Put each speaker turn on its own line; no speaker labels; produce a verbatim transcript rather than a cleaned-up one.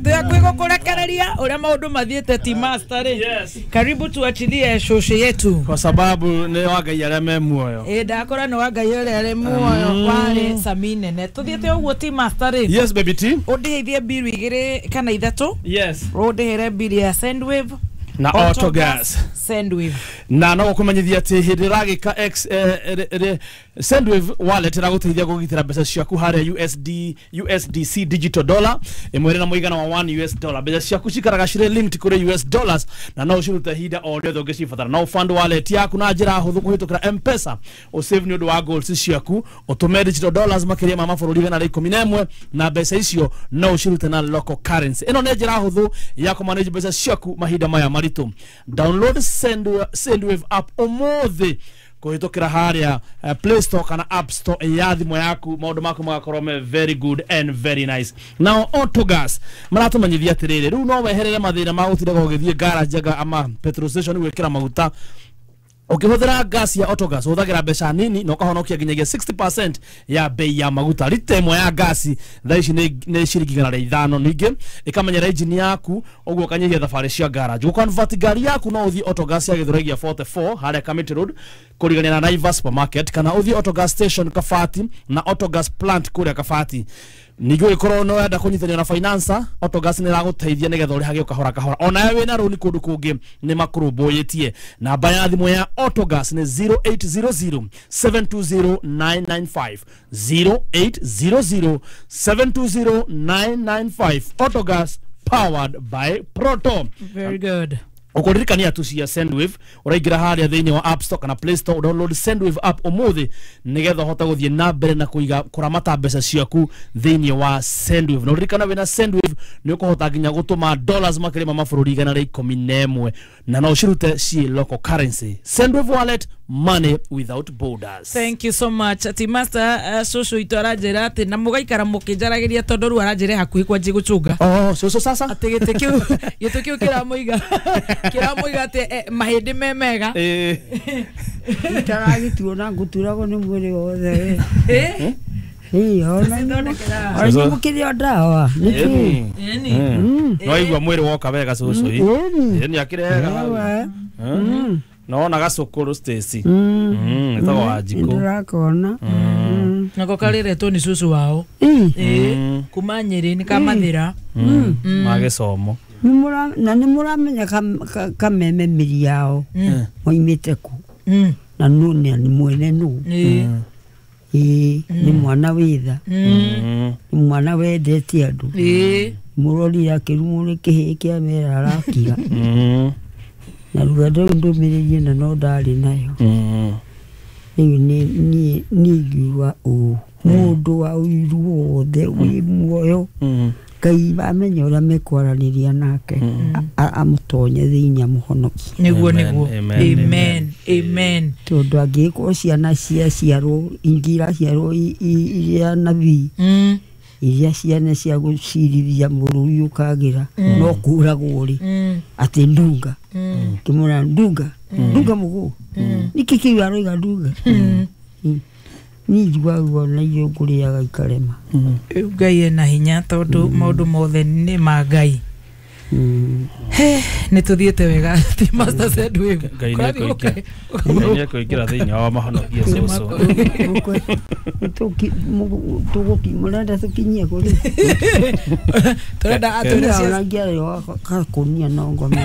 Tũyakwĩ gũkũrekereria ũrĩa maũndũ mathiĩte ti master rĩ.
Yes.
Karibu tuachilie shoshe yetu.
Kwa sababu nĩ wa Ngai arĩa me muoyo.
Ĩ ndakora nĩ wa Ngai ũrĩa arĩ muoyo warĩ Sami nene. Tũthiĩte ũguo ti master rĩ.
Yes baby T.
Ũndĩhithie mbiru igĩrĩ kana ithatũ.
Yes.
Ũndĩhĩre mbiri ya Sendwave
na Autogas.
Sendwave.
Na no gũkũmenyithia atĩ hĩndĩ ĩragĩka X eh, eh, eh, Sendwave wallet ĩragũteithia kũgitĩra mbeca ciaku harĩa U S D, U S D C digital dollar ĩmwe ĩrĩ na mũigana wa one U S dollar. Mbeca ciaku cikaraga cirĩ linked kũrĩ U S dollars na no ũcirute ihinda o rĩothe ũngĩcibatara. No fund wallet yaku na njĩra hũthũ kũhĩtũkĩra M-Pesa, ũsave nĩ ũndũ wa goals ciaku, ũtũme digital dollars makĩria ma mabũrũri igana rĩa ikũmi na ĩmwe na mbeca icio no ũcirute na local currency. Ĩno nĩ njĩra hũthũ ya kũmanage mbeca ciaku mahinda maya maritũ. Download Sendwave, Sendwave app ũmũthĩ kũhĩtũkĩra harĩa uh, Play Store kana App Store ya thimũ yaku, maũndũ maku magakorwo me very good and very nice. Now Autogas maratũmenyithia atĩrĩrĩ, rĩu no weherere mathĩna ma gũtindaga ũgĩthiĩ garage anga ama petrol station gwĩkĩra maguta. Ũkĩhũthĩra gas ya Autogas ũhũthagĩra mbeca nini na ũkahonokia nginyagia sixty percent ya bei ya maguta. Rita ĩmwe ya gasi thaa ici nĩ nĩ ciringi igana rĩa ithano. Ningĩ ĩkamenyera engine yaku ũguo ũkanyihia thabarĩ cia garage. Gũconvert ngari yaku no ũthiĩ Autogas ya Gĩthũrai gĩa forty-four harĩa Kamiti Road kũrigania na Naivas Supermarket, kana ũthiĩ Autogas station Kabati na Autogas plant kũrĩa Kabati. Ningĩ ũngĩkorwo nĩ ũrenda kũnyitanĩra na financer, Autogas nĩ ĩragũteithia nĩgetha ũrĩhage kahora kahora. Onawe wĩna rũni kũndũ kũngĩ nĩ makũrũmbũyĩtie. Namba ya thimũ ya Autogas nĩ zero eight zero zero seven two zero nine nine five, zero eight zero zero seven two zero nine nine five. Autogas powered by Proto.
Very good.
Ũkũririkania tu cia Sendwave, ũraingĩra harĩa thĩinĩ wa App Store kana Play Store, download Sendwave app ũmũthĩ nĩgetha ũhote gũthiĩ na mbere na kũiga kũramata mbeca ciaku thĩinĩ wa Sendwave. Na ũririkana wĩna Sendwave nĩ ũkũhota nginya gũtũma dollars makĩria ma mabũrũri igana rĩa ikũmi na ĩmwe na no ũcirute ciĩ local currency. Sendwave wallet, money without borders.
Thank you so much. Ati master uh, shosho itu aranjĩra atĩ na mũgaikara mũkĩnjaragĩria tondũ rĩu aranjĩra hakuhĩ kwanjia gũcũnga.
Oh, shosho sasa?
Atĩ gĩtĩ kĩu gĩtĩ kĩu kĩramũiga kĩramũiga atĩ eh, mahĩndĩ me mega.
Eh.
Itaragĩtuona ngũturagwo nĩ mwĩrĩ wothe.
Eh?
Ĩĩ, ona
Shosho.
mũkĩrĩo ndawa. Nĩkĩ?
Ĩni.
No igua mwĩrĩ woka wega shosho. Ĩni akĩrega hau. Nona gacukuru Stacy. Mm, ĩtagwo Wanjikũ.
Ndĩrakona.
Nako karĩretwo nĩ cũcũ wao. Ĩĩ, kuma Nyĩrĩ nĩ kamathĩra.
Ma gĩcomo.
Na nĩ mũramenya kameme mĩri yao moimĩte kũ na nũ nĩ mwene nũ. Ĩĩ, nĩ mwana wĩtha. Nĩ mwana wendete andũ.
Ĩĩ.
Mũrorire akĩrumwo nĩ kĩhĩĩ kĩa mera arakira. Na rũgendo rũu ndũmĩrĩrie na no ndarĩ nayo. Rĩu niĩ ingiuga ũũ, mũndũ wa ũiru wothe wĩ muoyo Ngai amenya ũrĩa mekwaranĩria nake amũtonye thĩinĩ amũhonokie.
Nĩguo nĩguo. Amen. Amen.
Tondũ angĩkorwo ciana ciaciarwo ingĩ iraciarwo iria nabii iria ciana cia gũcirithia mũrũi ũkagĩra no kũragwo rĩ atĩ ndunga kĩmũra ndunga ndunga mũgũ nĩkĩ kĩu aroiga ndunga niĩ njiguaga ruo na irio ngũrĩaga ikarema.
Rĩu Ngai ena hinya tondũ maũndũ mothe nĩ ma Ngai. Nĩ tũthiĩte wega ti Master Sendwave.
Ngai nĩ ekũingĩra thĩinĩ wa mahonokie cũcũ.
Mũrenda tũkinyie kũrĩ?
Tũrenda atwĩre
Ona ngĩarĩo gakũnia no ngome.